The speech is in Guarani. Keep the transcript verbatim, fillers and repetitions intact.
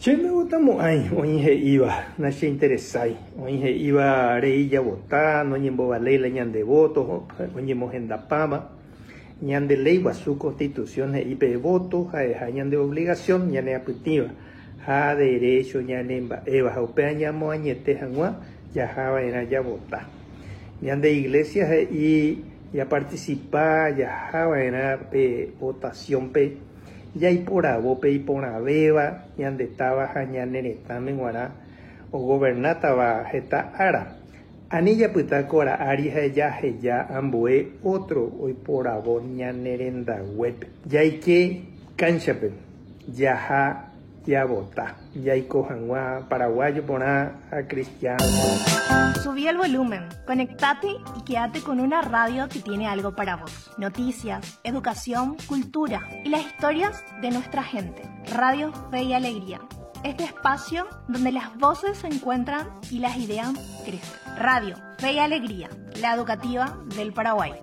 Che ndagustamo'ãi oĩ he'íva nacheinteresái, oĩ he'íva rei javota, noñembovaléi la ñande voto, oñemohendapáma. Ñande léi guasu constitución he'i pe voto ha'eha ñande obligación ñaneapytĩva ha derecho ñanemba'éva ha upéva ñamoañete hag̃ua jahava'erã javota. Ñande iglesia he'i japarticipa jahava'erã pe votación-pe jaiporavo pe iporãvéva ñandetáva ha ñane retãme g̃uarã ogobernátava heta ára. Ani japyta ko ára ári ha jaheja ambue otro oiporavo ñane rendaguépe. Jaike kánchape jaha javota jaiko hag̃ua paraguayo porã ha cristiano. Subí el volumen, conectate y quédate con una radio que tiene algo para vos. Noticias, educación, cultura y las historias de nuestra gente. Radio Fe y Alegría. Este espacio donde las voces se encuentran y las ideas crecen. Radio Fe y Alegría, la educativa del Paraguay.